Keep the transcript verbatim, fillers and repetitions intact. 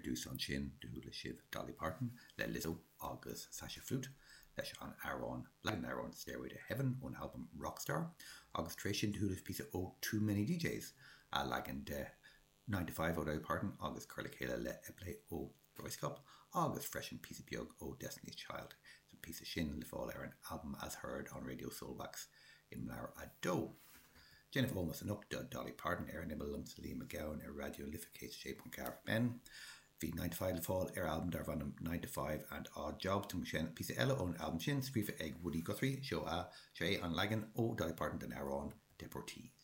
dtús ansin do chuala sibh Dolly Parton le Lizzo agus Sasha Flute leis an amhrán leagan amhrán Stairway to Heaven ón albam Rockstar, agus tar éis sin do chuala píosa ó Too Many DJs a leagan de Nine to Five ó Dolly Parton agus cur le chéile le Eplé ó Röyksopp agus freisin píosa beag ó Destiny's Child san píosa sin le fáil ar an album As Heard on Radio Soulwax imleabhar a dó. Déanamh ómóis anocht do Dolly Parton ar an imeall liomsa Liam Mac Gabhann ar Raidió Life céad sé ponc ceathair FM. Bhí nine to five le fáil ar albam darb ainm nine to five and Odd Jobs tá sin píosa eile ón albam sin scríofa ag Woody Guthrie seo a sé an leagan ó Dolly Parton den amhrán Deportees.